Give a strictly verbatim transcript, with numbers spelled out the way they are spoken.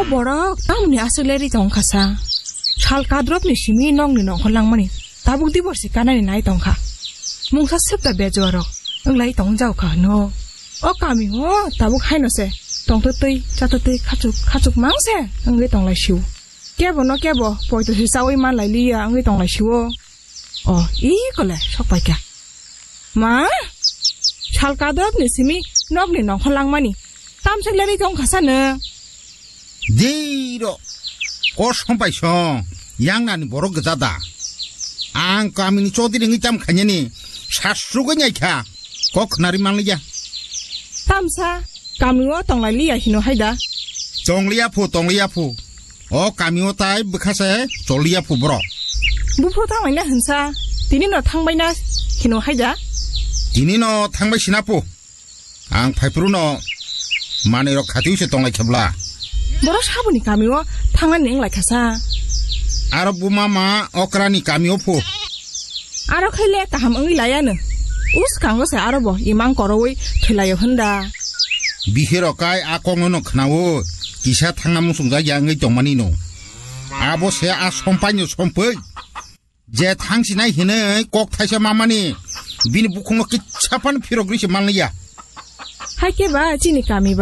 O borok tamni aswk lerwi tong kha sa. Sal kadrop ni simi nokni nongkhor langmani. Tabuk divorce kanani nai tong kha. Mungsa swk da bejuarok. Wnglai tong jau kha no. O kami o tabuk haino se. Tong twi twi, cha twi twi, khachuk, khachuk mang se. Wngwi tong lai siu. Kebo no kebo, poito se chawi man lai liya, wngwi tong lai siu. O, i kole, sok pai kha. Ma? Sal kadrop ni simi nokni nongkhor langmani. Tamswk lerwi tong kha sa no. Dei ro. Kosong pai song. Yang nani borok gja da. Ang kamini chodri wngwi tam khanyani. Sasrugwi nai kha. Kok khnari manliya. Tamsa, kami o tong lai liya hino hai da. Tong liya phu, tong liya phu. O kami o tai bwkha se chol liya phu borok. Buphuru thang lai na hinsa. Tini no thang bai na hino hai da. Tini no thang bai sina phu. Ang phaiphuru no manwi rok khatiwi se tong lai khe bla. Borok saboni kami o thang nani wng lai kha sa. Aro buma ma okra ni kami o phu. Aro khai le kaham wngwi lai ano. Us kango se aro bo imang korowi thwi lai o hwn da. Bihiro kai a kok no no khna o. Kisa thang na musung jak ya wngwi tong mani no. Abo se a sompai no sompoi. Je thang sinai hinwi kok thaisa ma mani. Bini bukhung no kisa phano phirok ri se man liya. Hai khe ba chini kami